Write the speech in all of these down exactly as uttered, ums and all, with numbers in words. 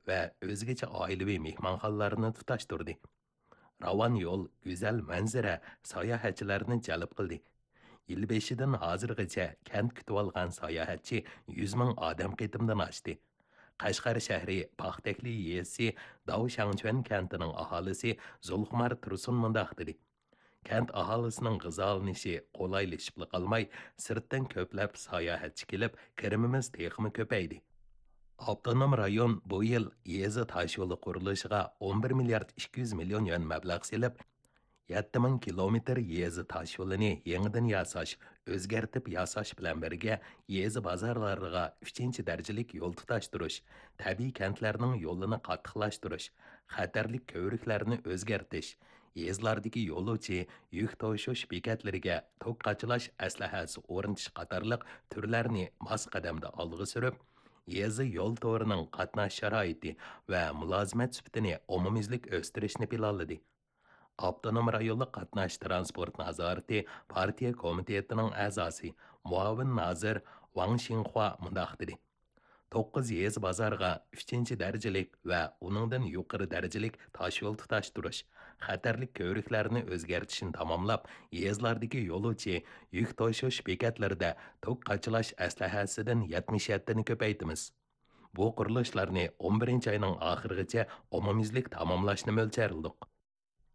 ۋە ئۆزگىچە ئائىلىۋى مېھمانخانىلارنى تۇتاشتۇردى. راۋان يول، گۈزەل مەنزىرە ساياھەتچىلەرنى جەلپ قىلدى. يىل بېشىدىن ھازىرغىچە كەنت كۈتۈۋالغان ساياھەتچى يۈز مىڭ ئادەم قېتىمدىن ئاشتى. قەشقەر شەھىرى پاختەكلى يېزىسى داۋ شاڭچۈەن كەنتىنىڭ ئاھالىسى زۇلخۇمار تۇرسۇن مۇنداق دېدى: كەنت ئاھالىسىنىڭ غىزالىنىشى قولايلىشىپلا قالماي، سىرتتىن كۆپلەپ ساياھەتچى كېلىپ، كىرىمىمىز تېخىمۇ كۆپەيدى. ئاپتونوم رايون بۇ يىل يېزا تاشيولى قۇرۇلۇشىغا ئون بىر مىليارد ئىككى يۈز مىليون يۈەن مەبلەغ سېلىپ، يەتتە مىڭ كىلومېتىر يېزا تاشيولىنى يېڭىدىن ياساش، ئۆزگەرتىپ ياساش بىلەن بىرگە، يېزا بازارلىرىغا ئۈچىنچى دەرىجىلىك يول تۇتاشتۇرۇش، تەبىئىي كەنتلەرنىڭ يولىنى قاتتىقلاشتۇرۇش، خەتەرلىك كۆۋرۈكلەرنى ئۆزگەرتىش، يېزىلاردىكى يولۇچى، يۈك توشۇش بېكەتلىرىگە توك قاچىلاش ئەسلىھەسى ئورنىتىش قاتارلىق تۈرلەرنى ماس قەدەمدە ئالغا سۈرۈپ، يېزا يول تورىنىڭ قاتناش شارائىتى ۋە مۇلازىمەت سۈپىتىنى ئومۇميۈزلۈك ئۆستۈرۈشنى پىلانلىدى. ئاپتونوم رايونلۇق قاتناش تىرانسپورت نازارىتى پارتىيە كومىتېتىنىڭ ئەزاسى، مۇئاۋىن نازىر ۋاڭ شىڭخۇا مۇنداق دېدى: توققۇز يېزا بازارغا ئۈچىنچى دەرىجىلىك ۋە ئۇنىڭدىن يۇقىرى دەرىجىلىك تاشيول تۇتاشتۇرۇش، خەتەرلىك كۆۋرۈكلەرنى ئۆزگەرتىشنى تاماملاپ، يېزىلاردىكى يولۇچى، يۈك توشۇش بېكەتلىرىدە توك قاچىلاش ئەسلىھەسىدىن يەتمىش يەتتىنى كۆپەيتىمىز. بۇ قۇرۇلۇشلارنى ئون بىرىنچى ئاينىڭ ئاخىرىغىچە ئومۇميۈزلۈك تاماملاشنى مۆلچەرلىدۇق.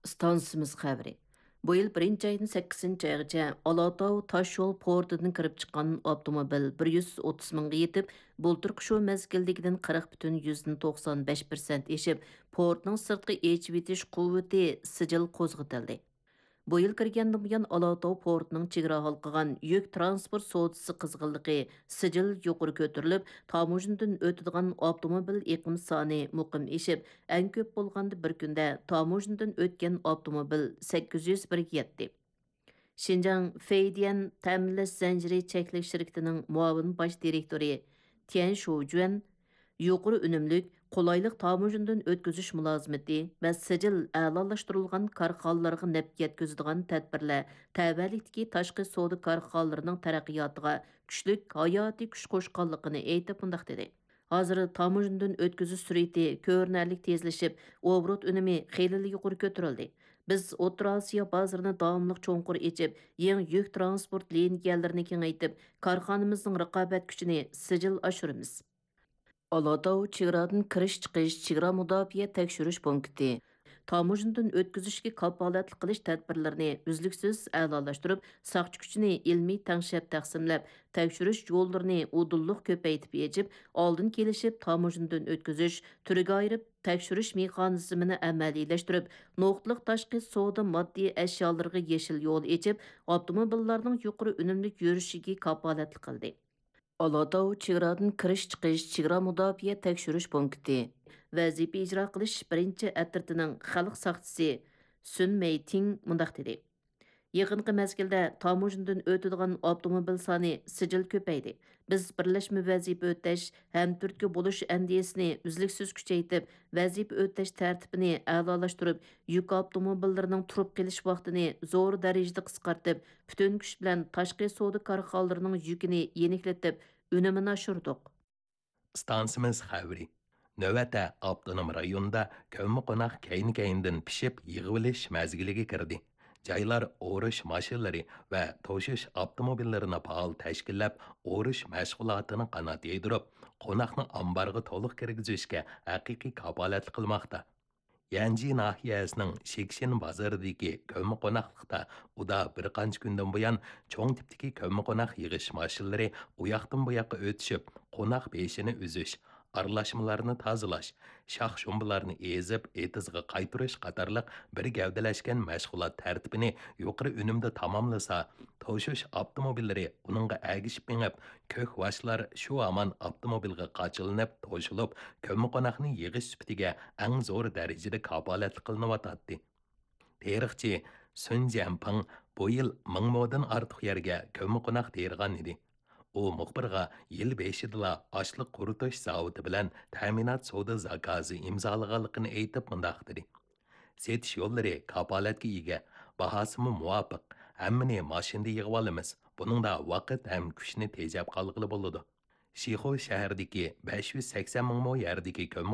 ئىستانسىمىز خەۋىرى. بۇ يىل بىرىنچى ئايدىن سەككىزىنچى ئايغىچە ئالاتاۋ تاشيول پورتىدىن كىرىپ چىققان ئاپتوموبىل بىر يۈز ئوتتۇز مىڭغا يېتىپ، بۇلتۇرقى شۇ مەزگىلدىكىدىن قىرىق پۈتۈن يۈزدىن توقسان بەش پىرسەنت ئېشىپ، پورتنىڭ سىرتقى ئېچىۋېتىش قۇۋۋىتى سىجىل قوزغىتىلدى. بۇ يىل كىرگەندىن بۇيان، ئالاتاۋ پورتىنىڭ چېگرا ھالقىغان يۈك تىرانسپورت سودىسى قىزغىنلىقى سىجىل يۇقىرى كۆتۈرۈلۈپ، تاموژنىدىن ئۆتىدىغان ئاپتوموبىل ئېقىم سانى مۇقىم ئېشىپ، ئەڭ كۆپ بولغاندا بىر كۈندە تاموژنىدىن ئۆتكەن ئاپتوموبىل سەككىز يۈز بىرگە يەتتى. شىنجاڭ فېيديەن تەمىنلەش زەنجىرى چەكلىك شىركىتىنىڭ مۇئاۋىن باش دىرېكتورى تيەن شۇجۈەن يۇقىرى ئۈنۈملۈك، قولايلىق تاموژنىدىن ئۆتكۈزۈش مۇلازىمىتى ۋە سىجىل ئەلالاشتۇرۇلغان كارخانىلارغا نەپ يەتكۈزىدىغان تەدبىرلەر تەۋەلىكتىكى تاشقى سودا كارخانىلىرىنىڭ تەرەققىياتىغا كۈچلۈك ھاياتىي كۈچ قوشقانلىقىنى ئېيتىپ، مۇنداق دېدى: ھازىر تاموژنىدىن ئۆتكۈزۈش سۈرئىتى كۆرۈنەرلىك تېزلىشىپ، ئوبوروت ئۈنۈمى خېلىلا يۇقىرى كۆتۈرۈلدى. بىز ئوتتۇرا ئاسىيا بازىرىنى داۋاملىق چوڭقۇر ئېچىپ، يېڭى يۈك تىرانسپورت لىنىيەلىرىنى كېڭەيتىپ، كارخانىمىزنىڭ رىقابەت كۈچىنى سىجىل ئاشۇرىمىز. ئالاتاۋ چېگرادىن كىرىش-چىقىش چېگرا مۇداپىئە تەكشۈرۈش پونكىتى. تاموژنىدىن ئۆتكۈزۈشكە كاپالەتلىك قىلىش تەدبىرلىرىنى ئۈزلۈكسىز ئەلالاشتۇرۇپ، ساقچى كۈچىنى ئىلمىي تەڭشەپ تەقسىملەپ، تەكشۈرۈش يوللىرىنى ئۇدۇللۇق كۆپەيتىپ ئېچىپ، ئالدىن كېلىشىپ تاموژنىدىن ئۆتكۈزۈش، تۈرگە ئايرىپ تەكشۈرۈش مېخانىزمىنى ئەمەلىيلەشتۈرۈپ، نۇقتىلىق تاشقى سودا ماددىي ئەشيالىرىغا يېشىل يول ئېچىپ، ئاپتوموبىللارنىڭ يۇقىرى ئۈنۈملۈك يۈرۈشىگە كاپالەتلىك قىلدى. ئالاتاۋ چېگرادىن كىرىش-چىقىش چېگرا مۇداپىئە تەكشۈرۈش پونكىتى ۋەزىپە ئىجرا قىلىش بىرىنچى ئەترىتىنىڭ خەلق ساقچىسى سۈن مېيتىڭ مۇنداق دېدى: يېقىنقى مەزگىلدە تاموژنىدىن ئۆتىدىغان ئاپتوموبىل سانى سىجىل كۆپەيدى. بىز بىرلەشمە ۋەزىپە ئۆتەش، ھەمتۈرتكە بولۇش ئەندىزىسىنى ئۈزلۈكسىز كۈچەيتىپ، ۋەزىپە ئۆتەش تەرتىپىنى ئەلالاشتۇرۇپ، يۈك ئاپتوموبىللىرىنىڭ تۇرۇپ قېلىش ۋاقتىنى زور دەرىجىدە قىسقارتىپ، پۈتۈن كۈچ بىلەن تاشقى سودا كارخانىلىرىنىڭ يۈكىنى يېنىكلىتىپ، ئۈنۈمىنى ئاشۇردۇق. ئىستانسىمىز خەۋىرى. نۆۋەتتە ئاپتونوم رايوندا كۆممىقوناق كەينى-كەينىدىن پىشىپ يىغىۋېلىش مەزگىلىگە كىردى. جايلار ئورۇش ماشىنىلىرى ۋە توشۇش ئاپتوموبىللىرىنى پائال تەشكىللەپ، ئورۇش مەشغۇلاتىنى قانات يايدۇرۇپ، قوناقنى ئامبارغا تولۇق كىرگۈزۈشكە ھەقىقىي كاپالەتلىك قىلماقتا. يەنجى ناھىيەسىنىڭ شىكشىن بازىرىدىكى كۆممىقوناقلىقتا ئۇدا بىر قانچە كۈندىن بۇيان چوڭ تىپتىكى كۆممىقوناق يىغىش ماشىنىلىرى ئۇياقتىن بۇياققا ئۆتۈشۈپ، قوناق بېشىنى ئۈزۈش، ئارىلاشمىلارنى تازىلاش، شاخ-شۇمبىلارنى ئېزىپ، ئېتىزغا قايتۇرۇش قاتارلىق بىر گەۋدىلەشكەن مەشغۇلات تەرتىپىنى يۇقىرى ئۈنۈمدە تاماملىسا، توشۇش ئاپتوموبىللىرى ئۇنىڭغا ئەگىشىپ مېڭىپ، كۆك ۋاشلار شۇ ھامان ئاپتوموبىلغا قاچىلىنىپ توشۇلۇپ، كۆممىقوناقنى يىغىش سۈپىتىگە ئەڭ زور دەرىجىدە كاپالەتلىك قىلىنىۋاتاتتى. تېرىقچى سۈن جيەنپىڭ بۇ يىل مىڭ مودىن ئارتۇق يەرگە كۆممىقوناق تېرىغان ئىدى. ئۇ مۇخبىرغا يىل بېشىدىلا ئاشلىق قۇرۇتۇش زاۋۇتى بىلەن تەمىنات سودا زاكازى ئىمزالىغانلىقىنى ئېيتىپ مۇنداق دېدى: سېتىش يوللىرى كاپالەتكە ئىگە، باھاسىمۇ مۇۋاپىق، ھەممىنى ماشىنىدا يىغىۋالىمىز، بۇنىڭدا ۋاقىت ھەم كۈچنى تېجەپ قالغىلى بولىدۇ. شىخۇ شەھىرىدىكى بەش يۈز سەكسەن مىڭ مو يەردىكى كۆممە